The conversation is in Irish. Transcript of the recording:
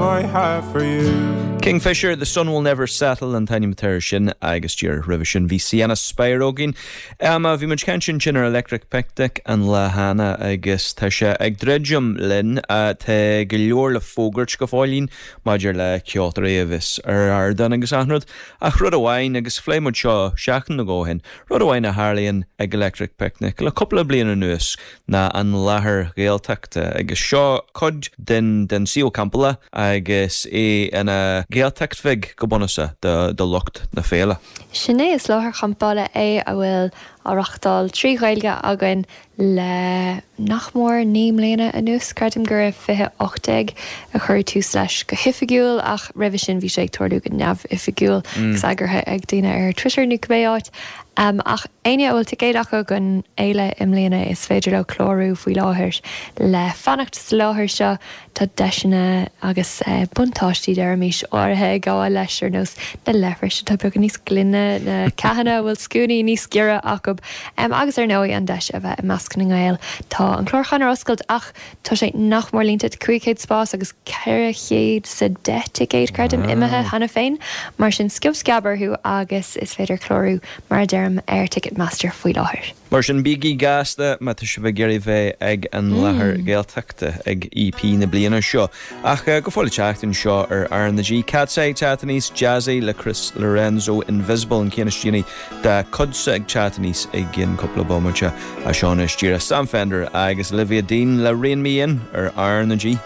I have for you. Kingfisher, The Sun Will Never Settle an t-ainm atá air sin agus díreach roimhe sin bhí Sienna Spiro againn. Bhí muid ag caint ansin ar Electric Picnic an lá cheana agus tá sé ag druidim linn. Tá go leor le fógairt go fóillín maidir le ceoltóirí a bheas ar ardán agus achan rud. Ach rud amháin, agus phléigh muid seo seachtain nó dhó ó shin, rud amháin a tharlaíonn ag Electric Picnic le cúpla bliain anuas, ná an láthair Ghaeltachta agus seo cuid den den suíomh campála agus é ina Ghaeltacht bheag go bunúsach do lucht na féile. Sin é, is láthair champála é a bhfuil á reachtáil trí Ghaeilge againn le nach mór 9 mbliana anuas. Creidim gur i 2018 a cuireadh tús leis go hoifigiúil ach roimhe sin bhí sé ag tarlú go neamhoifigiúil agus eagraithe ag daoine ar Twitter nó cibé áit. Ach éinne a bhfuil ticéad acu don fhéile i mbliana is féidir leo clárú faoi láthair le fanacht sa láthair seo. Tá deiseanna agus buntáistí, deirimis, áirithe ag gabháil leis, ar nós na leithris atá beagán níos glaine, na ceathanna a bhfuil scuainí níos giorra acu agus ar ndóigh an deis a bheith i measc na nGael. Tá an clárúchán ar oscailt ach Tá sé nach mór líonta, 500 spás agus 410 ticéad, creidim, imithe cheana féin. Mar sin, sciob sceab orthu agus is féidir clárú, mar a deirim, ar Ticketmaster faoi láthair. Mar sin, bígí gasta má tá sibh ag iarraidh bheith ag an láthair Ghaeltachta ag EP na bliana seo. Ach go fóill an tseachtain seo ar R na G, Katseye ag teacht aníos, Jazzy le Chris Lorenzo, Invisible an ceann is déanaí dá cuidse ag teacht aníos i gcionn cúpla bomaite. Seo anois díreach Sam Fender agus Olivia Dean le Rein Me In ar R na G.